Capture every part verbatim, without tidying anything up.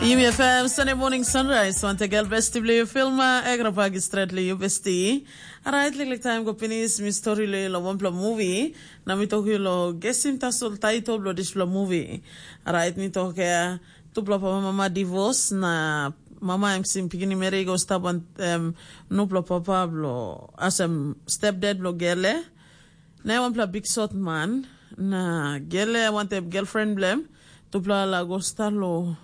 Yumi F M, Sunday morning sunrise. Wante gel besti bli filma, egra pagi stretli yu besti. Alright, liklik time go pinis, mi story le lo wampla movie. Na mi toki lo gesim tasol title blo displa movie. Alright, mi toki ya, tupla papa mama divorce, na mama em sim pigini meri go stap an um, nupla papa blo, asem stepdad blo gele. Na em wanpela big sot man, na gele wantaim girlfriend bilem, tupela la go start lo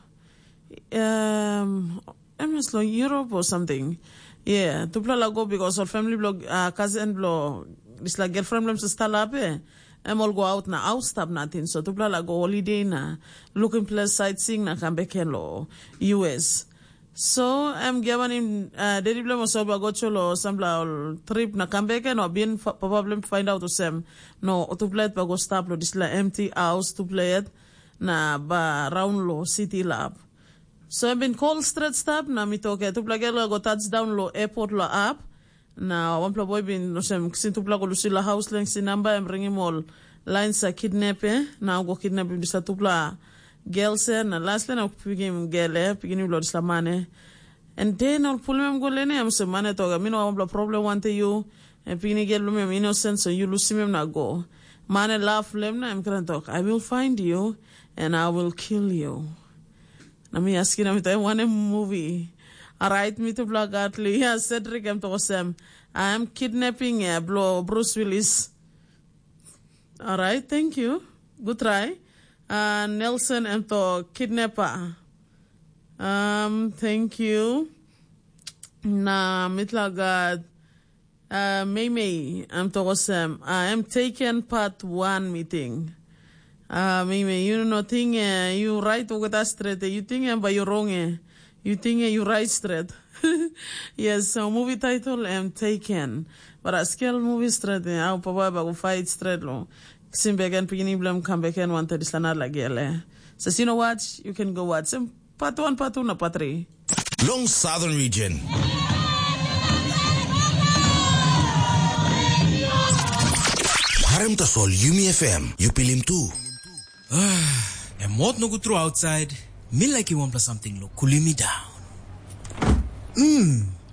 um, em is lo Europe or something. Yeah, tupela la go because ol family blo uh, cousin blo dispela girlfriend bilem sa start lape. Em ol go out na house stap natin, so tupela la go holiday na looking place sightseeing na kam beken lo U S. So em giamanim uh, dedi bilem osol ba go cholo sampela ol trip na kam beken o bin papa bilem find out osem no tuplet ba go stap lo dispela empty house tuplet na ba raun lo city lap. So em bin call stret stap na mi toke tupela gel go touch down lo airport lo ap. Na wanpela boi bin olsem kisim tupela go lusim long haus long sin namba em ringim ol lain sa kidnap e na go kidnapim dispela tupela gel se na lasle na pikim gel e pikinim bilong dispela man e. En de na ol pulim em go leni em olsem man e tok mi no wanpela problem wantaim yu. En pikinini gel bilong em inosen so yu lusim em na go. Man e laf long em na em kran tok I will find you and I will kill you. Na mi askim na mi taim wanem muvi. Orait mitupela gat Lia Cedric em tok olsem, em kidnaping ya blo Bruce Willis. Orait, thank you. Good try. Uh, Nelson em tok kidnapper. Um, thank you. Na mitla gat Uh, Meimei, em tok olsem, uh, em taken part one meeting. Uh, Meimei, yu no ting uh, yu right olgeta stret, yu ting em bai yu rong e. Yu ting yu right stret. Yes, so movie title em taken. But a skel movie stret, eh, au papa ba go fight stret lo. Sim beken pikinini bilem kam beken wanted dislana lagele. So you know what? You can go watch him. Part one, part two na part three. Long Southern Region. Harem tasol Yumi F M, yu pilim tu. Em hot nogut tru outside. Mi like wanpela something lo cooling me down. Mm.